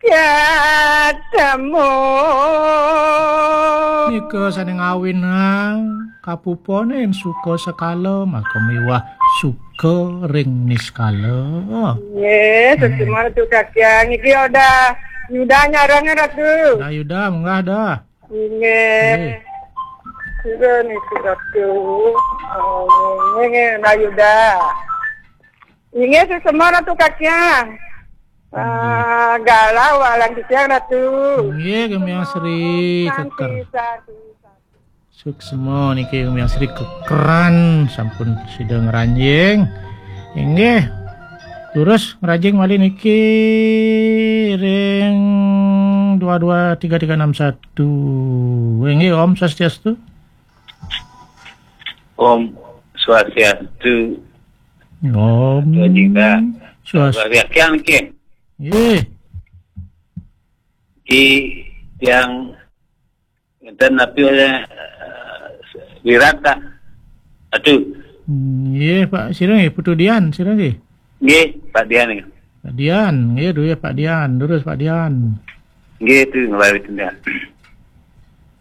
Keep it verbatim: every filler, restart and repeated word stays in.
Katemu. Nika sane ngawinang kapuponin suka sekala, maka miwah suka ring niskala. Nggih, hmm, suksma Ratu Kakiang. Niki Odah Yuda nyarengin, Ratu. Dah Yuda, munggah dah. Nggih. Nggih. Sira niki, Ratu. Oh, nggih, nggih, Odah Yuda. Inggih, suksma Ratu Kakiang. Inggih. Ah, galah walang titiang, Ratu. Inggih, Gemiang Sri Sandi, Keker. Sandi, sandi. Suksma niki Gemiang Sri Kekeran sampun sida ngranjing. Inggih. Terus ngranjing malih niki ring dua dua tiga tiga enam satu. Inggih, Om Swastiastu. Om Swastiastu. Om Swastiastu. Swastiastu. Nggih. Ki yang enten napi oleh, eh, Wirata. Aduh. Nggih, Pak, sira nggih, Putu Dian, sira nggih? Nggih, Pak Dian nggih. Pak Dian, nggih, duh ya, Pak Dian, terus Pak Dian. Nggih, itu ngebawi tindak.